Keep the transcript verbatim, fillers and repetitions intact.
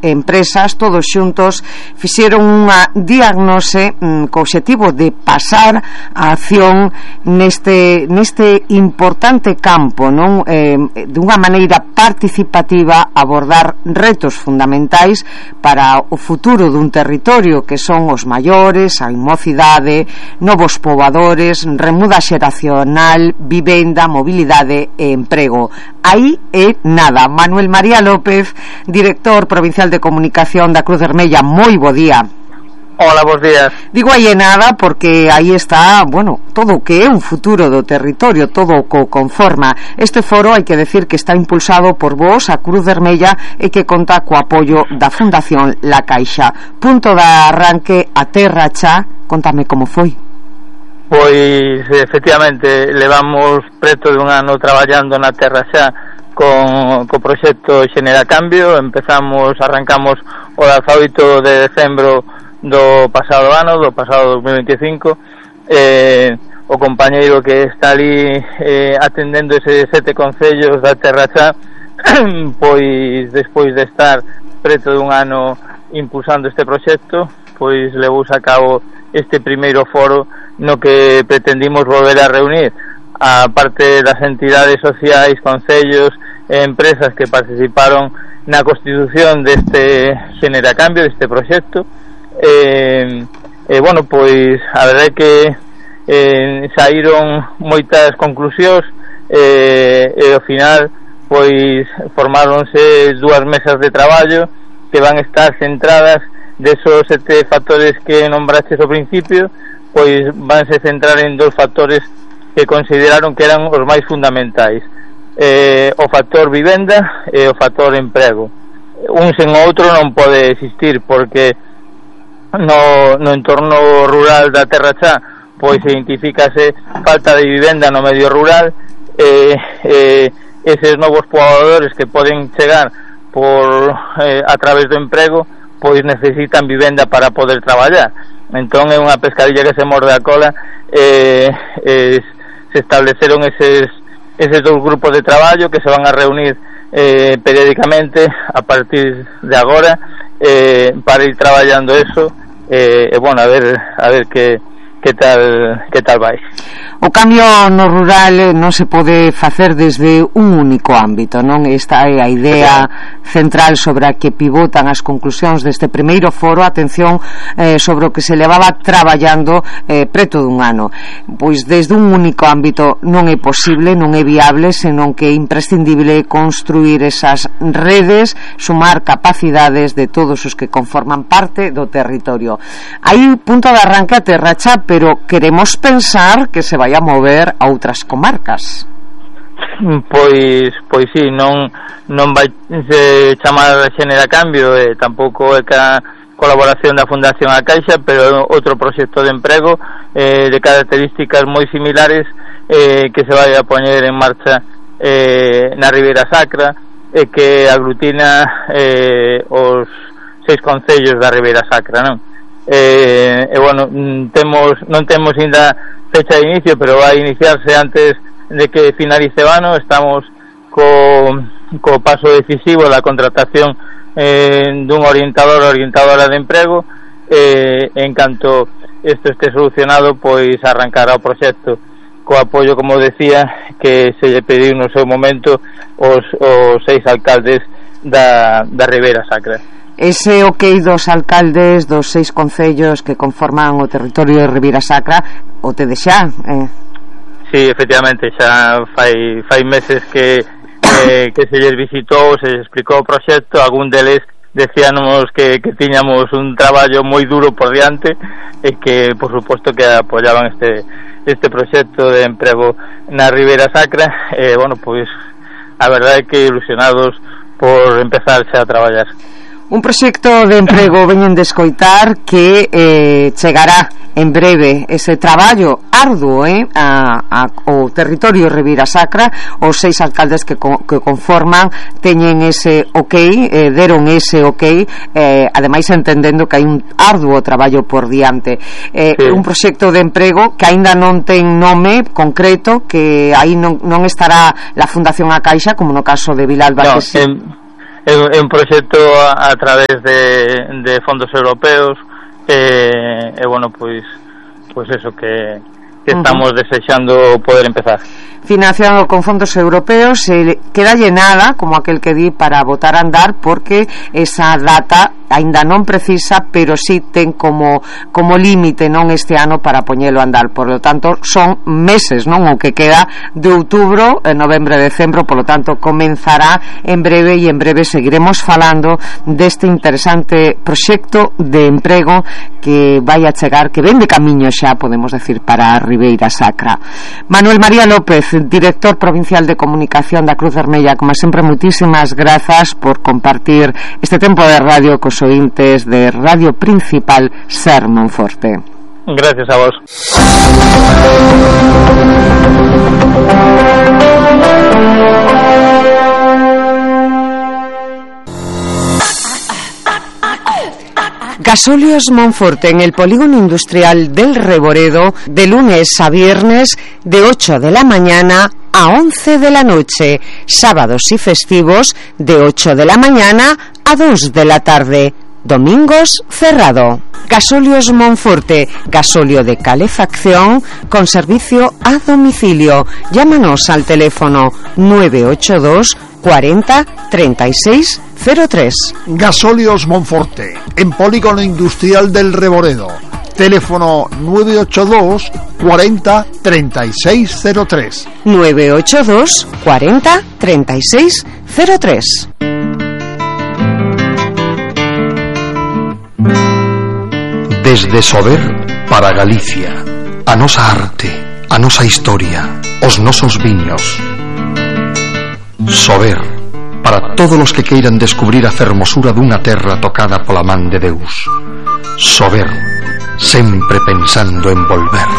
empresas, todos xuntos fixeron unha diagnose mm, co obxectivo de pasar a acción neste, neste importante campo, non? Eh, dunha maneira participativa, abordar retos fundamentais para o futuro dun territorio, que son os maiores, a mocidade, novos poboadores, remuda xeracional, vivenda, mobilidade e emprego. Aí é nada. Manuel María López, director provincial de comunicación da Cruz Vermella, moi bo día. Hola, bons días. Digo aí é nada porque aí está, bueno, todo o que é un futuro do territorio, todo o que conforma. Este foro hai que decir que está impulsado por vos, a Cruz Vermella, e que conta co apoio da Fundación La Caixa. Punto de arranque a Terra Chá. Contame como foi. Pois, efectivamente, levamos preto de un ano traballando na Terra Xa con co proxecto Xenera Cambio. Empezamos, arrancamos o dezaoito de decembro do pasado ano, do pasado dos mil veinticinco. Eh, o compañeiro que está ali eh, atendendo ese sete concellos da Terra Xa, pois, despois de estar preto de un ano impulsando este proxecto, pois levouse a cabo este primeiro foro no que pretendimos volver a reunir a parte das entidades sociais, concellos e empresas que participaron na constitución deste Xenera Cambio, deste proxecto. E, e bueno, pois a verdade é que eh, saíron moitas conclusións e, e ao final pois formáronse dúas mesas de traballo que van estar centradas desos sete factores que nombraches ao principio, pois vanse centrar en dos factores que consideraron que eran os máis fundamentais, eh, o factor vivenda e o factor emprego. Un sen o outro non pode existir, porque no, no entorno rural da Terra Xa pois identifícase falta de vivenda no medio rural, e eh, eh, eses novos poboadores que poden chegar por eh, a través do emprego pois necesitan vivenda para poder traballar. Entón é unha pescadilla que se morde a cola. eh, eh, se estableceron eses, eses dous grupos de traballo que se van a reunir eh, periódicamente a partir de agora, eh, para ir traballando eso, e eh, bueno, a ver a ver que que tal que tal vai. O cambio no rural non se pode facer desde un único ámbito, non? Esta é a idea central sobre a que pivotan as conclusións deste primeiro foro. Atención, eh, sobre o que se levaba traballando eh, preto dun ano. Pois desde un único ámbito non é posible, non é viable, senón que é imprescindible construir esas redes, sumar capacidades de todos os que conforman parte do territorio. Hai punto de arranque a Terra Xa, pero queremos pensar que se vai a mover a outras comarcas. Pois, pois sí, non non vai se chamar Xenera Cambio, e tampouco é ca colaboración da Fundación A Caixa, pero outro proxecto de emprego eh, de características moi similares, eh, que se vai a poñer en marcha eh, na Ribeira Sacra, e eh, que aglutina eh, os seis concellos da Ribeira Sacra, non? E, eh, eh, bueno, temos non temos ainda fecha de inicio, pero vai a iniciarse antes de que finalice o ano. Estamos co, co paso decisivo da contratación eh, dun orientador ou orientadora de emprego, eh, en canto isto este solucionado, pois arrancará o proxecto co apoio, como decía, que se lle pediu no seu momento os, os seis alcaldes da, da Ribeira Sacra. Ese ok dos alcaldes dos seis concellos que conforman o territorio de Ribeira Sacra o te deixa, eh? Sí, efectivamente, xa fai, fai meses que, eh, que se lles visitou, se lles explicou o proxecto. Algún deles decíamos que, que tiñamos un traballo moi duro por diante, e que, por suposto, que apoyaban este, este proxecto de emprego na Ribeira Sacra. E, eh, bueno, pois, a verdade é que ilusionados por empezar xa a traballar. Un proxecto de emprego, veñen de escoitar, que eh, chegará en breve. Ese traballo arduo eh, a, a, o territorio Ribeira Sacra. Os seis alcaldes que, co, que conforman teñen ese ok, eh, deron ese ok, eh, ademais entendendo que hai un arduo traballo por diante. eh, sí. Un proxecto de emprego que aínda non ten nome concreto, que aí non, non estará la Fundación A Caixa, como no caso de Vilalba, no, que sí. En, é, é un proxecto a, a través de, de fondos europeos, e, e bueno, pois pois eso que, que estamos uh-huh. desexando poder empezar. Financiado con fondos europeos, eh, queda llenada, como aquel que di, para botar a andar, porque esa data aínda non precisa, pero sí ten como como límite, non, este ano para poñelo a andar. Por lo tanto, son meses, non, o que queda de outubro, novembro, decembro, por lo tanto, comenzará en breve, e en breve seguiremos falando deste interesante proxecto de emprego que vai a chegar, que ven de camiño xa, podemos decir, para a Ribeira Sacra. Manuel María López, director provincial de comunicación da Cruz Vermella, como sempre, moitísimas grazas por compartir este tempo de radio cos ointes de Radio Principal Ser Monforte. Gracias a vos. Gasóleos Monforte, en el polígono industrial del Reboredo, de lunes a viernes, de ocho de la mañana a once de la noche, sábados y festivos de ocho de la mañana a dos de la tarde, domingos cerrado. Gasóleos Monforte, gasóleo de calefacción con servicio a domicilio. Llámanos al teléfono nueve ocho dos cuarenta treinta y seis cero tres. Gasóleos Monforte, en polígono industrial del Reboredo. Teléfono nueve ocho dos cuarenta treinta y seis cero tres. nueve ocho dos cuarenta treinta y seis cero tres. Desde Sober para Galicia, a nosa arte, a nosa historia, os nosos viños. Sober, para todos os que queiran descubrir a fermosura dunha terra tocada pola man de Deus. Sober, sempre pensando en volver.